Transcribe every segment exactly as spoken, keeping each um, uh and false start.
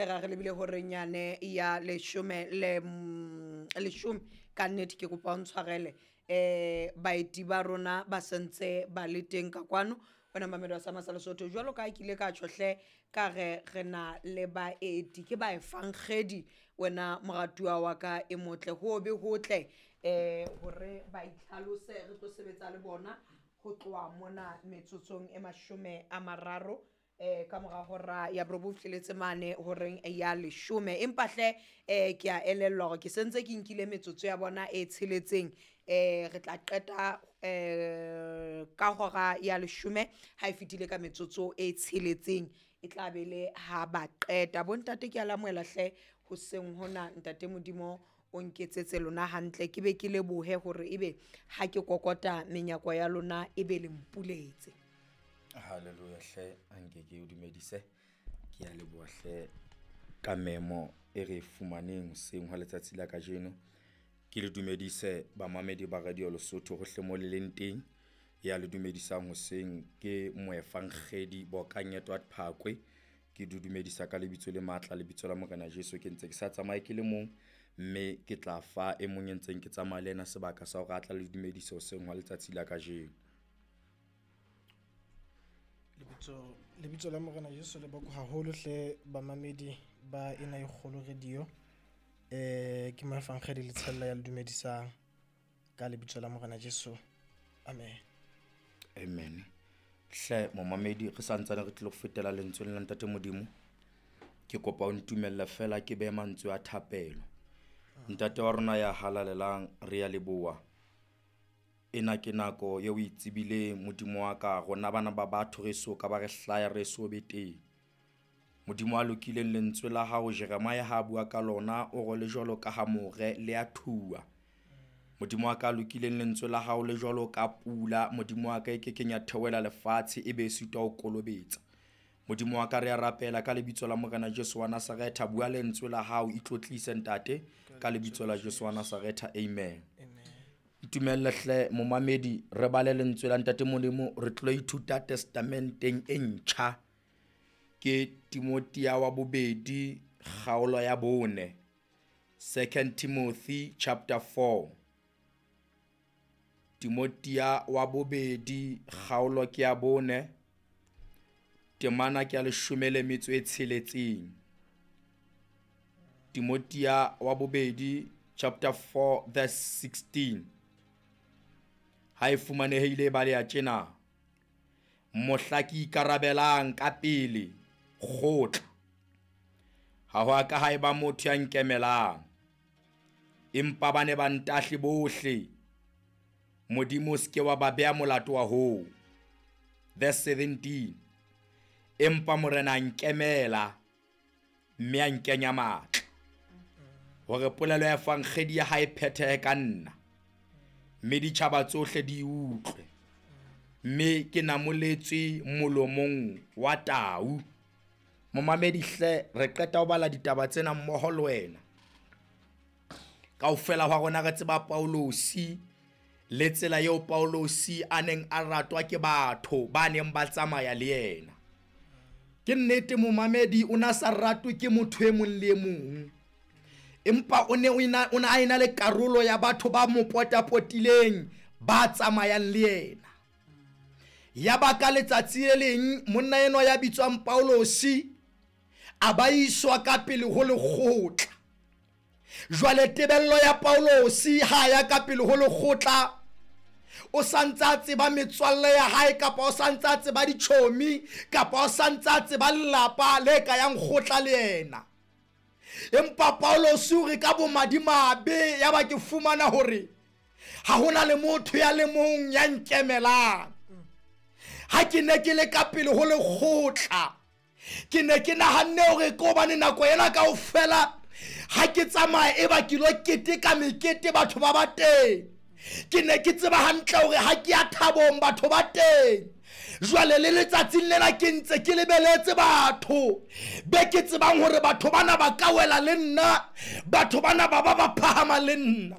Ra re lebile horeng yane ya leshome le mm, leshome. Ka nnete ke kopa o ntshwarele, um baeti ba rona ba sentse ba le teng ka kwano. Wena mamedi wa sa Lesotho, jwalo ka ha ke ile ka tjhohle ka re re na le baeti ke baefankgedi. Wena moratuwa wa ka e motle, ho be hotle um hore ba itlhalose, re tlo sebetsa le bona ho tloha mona metsotsong e mashome a mararo eh ka mora hora ya borobong fihleletse mane horeng ya leshome. Empa hle eh ke a elellwa hore ke sentse ke nkile metsotso ya bona e tsheletseng, eh re tla qeta eh ka hora ya leshome ha e fetile ka metsotso e tsheletseng, e tla be le ha ba qeta. Bontate ke a lamohela hle hoseng hona, ntate Modimo o nketsetse lona hantle, ke be ke lebohe hore ebe ha ke kokota menyako ya lona ebe le mpuletse. Hallelujah hle, anke ke o dumedise. Ke a leboha hle ka memo e re e fumaneng hoseng hwa letsatsi la kajeno. Ke le dumedise bamamedi ba Radio Lesotho hohle mo le leng teng. Ya le dumedisang hoseng ke moefankgedi Bokang Edward Phakwe. Ke di dumedisa ka lebitso le matla, lebitso la Morena Jesu. Ke ntse ke sa tsamaye ke le mong, mme ke tla fa e mong e ntseng ke tsamaya le yena sebaka sa hore a tla le dumedisa hoseng hwa letsatsi la kajeno. Lebitso lebitso la Morena Jesu le boko haholo hle bamamedi ba ena e kgolo radio. Eh ke moefankgedi Letshella ya le dumedisang ka lebitso la Morena Jesu. Amen. Amen. Hle momamedi, re santsane re tlilo fetela lentsweng la Ntate Modimo. Ke kopa o ntumella fela ke behe mantswe a thapelo. Ntate wa rona ya halalelang, re ya leboha. Ena ke nako eo o e tsebileng Modimo wa ka, rona bana ba batho re so ka ba re hlaya re so be teng. Modimo a lokileng, lentswe la hao Jeremiah ha bua ka lona o re le jwalo ka ha more le a thuwa. Modimo wa ka a lokileng, lentswe la hao le jwalo ka pula, Modimo wa ka e kekeng ya theohela lefatshe e be e sitwa ho kolobetsa. Modimo wa ka re a rapela ka lebitso la Morena Jesu wa Nazaretha, bua lentswe la hao, itlotlise ntate ka lebitso la Jesu wa Nazaretha, amen. Amen. Ntumelle hle momamedi, re bale lentswe la Ntate Modimo, re tlo ithuta testamenteng e ntjha. Ke Timothea wa bobedi kgaolo ya bone, Second Timothy chapter four. Timothea wa bobedi kgaolo ke ya bone, temana ke ya leshome le metso e tsheletseng. Timothea wa bobedi chapter four verse sixteen. Ha e fumanehile ba le ya tjena: mohla ke ikarabelang ka pele kgotla, ha ho a ka ha eba motho ya nkemelang, empa ba ne ba ntahle bohle. Modimo o se ke wa ba beha molato wa hoo. Verse seventeen, empa Morena a nkemela mme a nkenya matla, hore polelo ya efankgedi ya hae phethehe ka nna, mme ditjhaba tsohle di utlwe, mme ke namoletswe molomong wa tau. Momamedi hle, re qeta ho bala ditaba tsena mmoho le wena. Kaofela hwa rona re tseba Paulosi le tsela eo Paulosi a neng a ratwa ke batho ba neng ba tsamaya le yena. Ke nnete momamedi, o na sa ratwe ke motho e mong le e mong, empa o ne o ena, o na a ena le karolo ya batho ba mo potapotileng ba tsamayang le yena. Ya ba ka letsatsi le leng monna enwa ya bitswang Paulosi a ba iswa ka pele ho lekgotla. Jwale tebello ya Paulosi ha ya ka pele ho lekgotla, o santse a tseba metswalle ya hae, kapa o santse a tseba ditjhomi, kapa o santse a tseba lelapa le ka yang kgotla le yena. Empa Paulosi o re ka bomadimabe, ya ba ke fumana hore ha hona le motho ya le mong ya nkemelang. Ha ke ne ke le ka pele ho lekgotla, ke ne ke nahanne hore ke hobane nako ena kaofela ha ke tsamaya e ba ke lo keteka mekete batho ba ba teng. Ke ne ke tseba hantle hore ha ke ya thabong batho ba teng. Jwale le letsatsing lena ke ntse ke lebeletse batho be ke tsebang hore batho bana ba ka wela le nna, batho bana ba ba ba phahama le nna.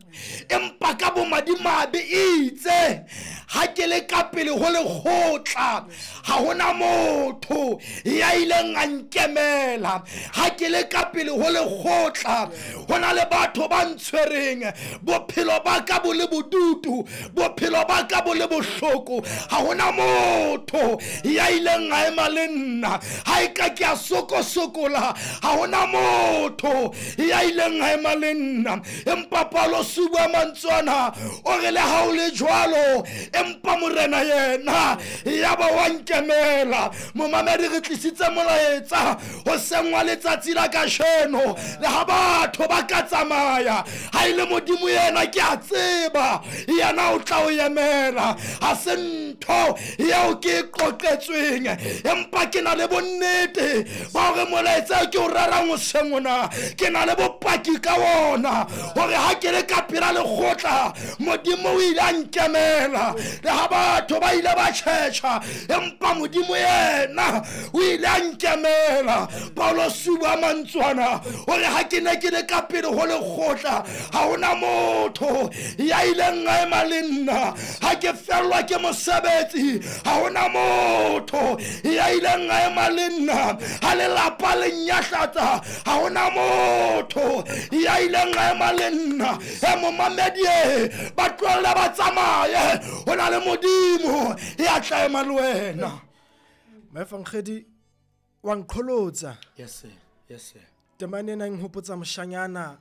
Empa ka bomadimabe itse ha ke le ka pele ho lekgotla, ha hona motho ya ileng a nkemela. Ha ke le ka pele ho lekgotla, ho na le batho ba ntshwereng bophelo ba ka bo le bodutu, bophelo ba ka bo le bohloko. Ha hona motho ya ileng a ema le nna. Ha e ka ke a sokosokola, ha hona motho ya ileng a ema le nna. Empa Paulosi o bua mantswe ana, o re le ha o le jwalo, empa morena yena ya ba wa nkemela. Momamedi, re tlisitse molaetsa hoseng wa letsatsi la kajeno. Le ha batho ba ka tsamaya, ha e le Modimo yena ke a tseba yena o tla o emela. Ha se ntho eo ke e qoqetsweng, empa ke na le bonnete ba hore molaetsa ke o rerang hoseng ona, ke na le bopaki ka wona hore ha ke le ka pela lekgotla, Modimo o ile a nkemela. Le ha batho ba ile ba tjhetjha, empa Modimo yena o ile a nkemela. Paulosi o bua mantswe ana hore ha ke ne ke le ka pele ho lekgotla, ha hona motho ya ileng a ema le nna. Ha ke fellwa ke mosebetsi, ha hona motho ya ileng a ema le nna. Ha lelapa le nyahlatsa, ha hona motho ya ileng a ema le nna. E momamedi, e ba tlohelle ba tsamaye, ho na le Modimo ya tla ema le wena. Moefankgedi wa nqholotsa. Yes sir, yes sir. Temane ena e nhopotsa moshanyana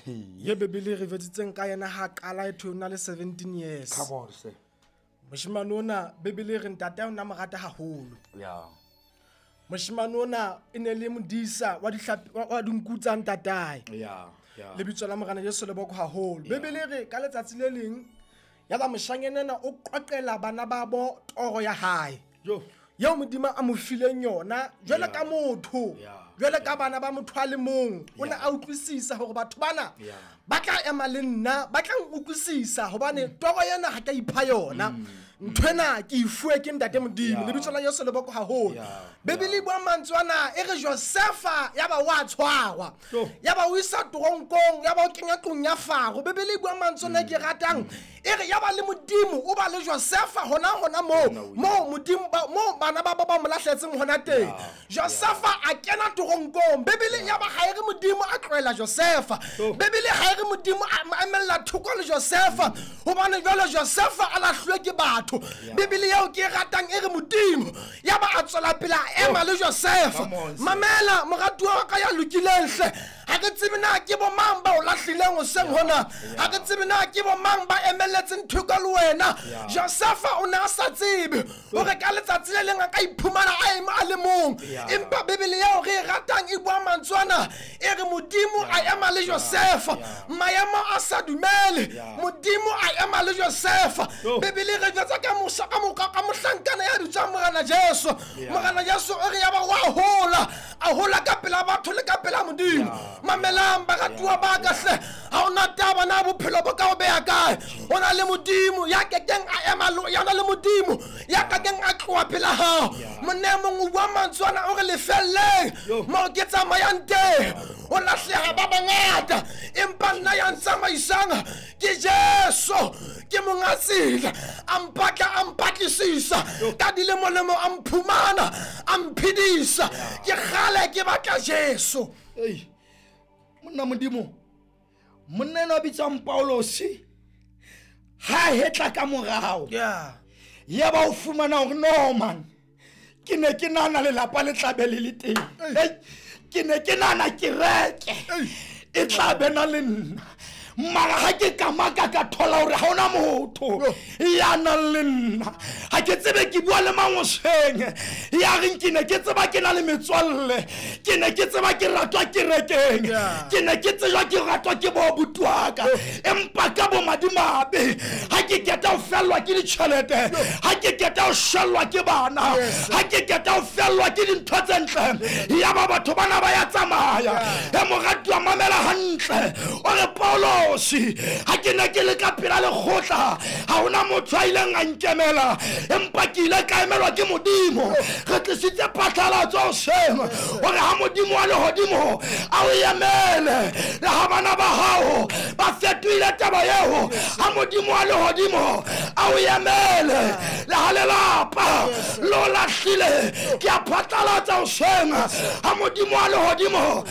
ye Bebele re jwetsitseng ka yena ha qala e thwe o na le seventeen years. Come on sir. Moshemane ona Bebele re ntate o na mo rata haholo. Yeah. Moshemane ona e ne le modisa wa dihlapi wa dinku tsa ntatae. Yeah, yeah. Lebitso la Morena Jesu le boko haholo. Bebele re ka letsatsi le leng ya ba moshanyana ena o qoqela bana ba bo toro ya hae. Yo. Eo Modimo a mo fileng yona jwale ka motho, jwale ka bana ba motho a le mong, o ne a utlwisisa hore batho bana ba tla ema le nna, ba tla utlwisisa hobane toro ena ha ka ipha yona. Nthwena ke ifuwe ke ntate Modimo. Lebitso la Jesu le boko haholo. Bebele e bua mantswe ana e re Josefa ya ba wa tshwarwa, ya ba o isa toronkong, ya ba o kenya tlung ya Faro. Bebele e bua mantswe ana ke ratang e re ya ba le Modimo o ba le Josefa hona hona moo moo Modimo moo bana ba ba ba mo lahletseng hona teng. Josefa a kena toronkong. Bebele ya ba ha e re Modimo a tlohela Josefa. Bebele ha e re Modimo a emella thoko le Josefa, hobane jwale Josefa a lahluwe ke batho. Bebele eo ke e ratang e re Modimo ya ba a tswela pele a ema le Josefa. Mamela moratuwa wa ka ya lokileng hle, ha ke tsebe na ke bo mang ba o lahlileng hoseng hona, ha ke tsebe na ke bo mang ba emelletseng thoko le wena. Josefa o ne a sa tsebe hore ka letsatsi le leng a ka iphumana a ema a le mong. Empa Bebele eo re e ratang e bua mantswe ana e re Modimo a ema le Josefa. Maemo a sa dumele, Modimo a ema le Josefa. Bebele re jwetsa ka mosa ka moka ka mohlankana ya bitswang Morena Jesu. Morena Jesu o re ya ba wa hola, a hola ka pela batho le ka pela Modimo. Mamelang baratuwa ba ka hle, ha ona taba na bophelo bo ka o beha kae, o na le Modimo ya kekeng a ema ya na le Modimo ya kekeng a tloha pela hao. Monna e mong o bua mantswe ana o re lefelleng moo ke tsamayang teng, o lahleha ba bangata, empa nna ya ntsamaisang ke Jesu, ke monga tsela. A mpatla a mpatlisisa ka dilemolemo, a mphumana a mphedisa. Ke kgale ke batla Jesu. Ei monna Modimo, monna enwa bitswang Paulosi ha hetla ka morao, ya ba o fumana hore no man, ke ne ke nahana lelapa le tla be le le teng, ke ne ke nahana kereke e tla be na le nna, mara ha ke kamaka ka thola hore ha hona motho ya nang le nna. Ha ke tsebe ke bua le mang hoseng ya reng ke ne ke tseba ke na le metswalle, ke ne ke tseba ke ratwa kerekeng, ke ne ke tsejwa ke ratwa ke bo abuti wa ka, empa ka bomadimabe ha ke keta ho fellwa ke ditjhelete, ha ke keta ho shellwa ke bana, ha ke keta ho fellwa ke dintho tse ntle, ya ba batho bana ba ya tsamaya. E moratuwa mamela hantle, o re Paulo Paulosi ha ke ne ke le ka pela lekgotla ha hona motho a ileng a nkemela empa ke ile ka emelwa ke modimo re tlisitse phatlalatso hoseng hore ha modimo wa lehodimo a o emele le ha bana ba hao ba fetohile taba eo ha modimo wa lehodimo a o emele le ha lelapa lo lahlile ke a phatlalatsa hoseng ha modimo wa lehodimo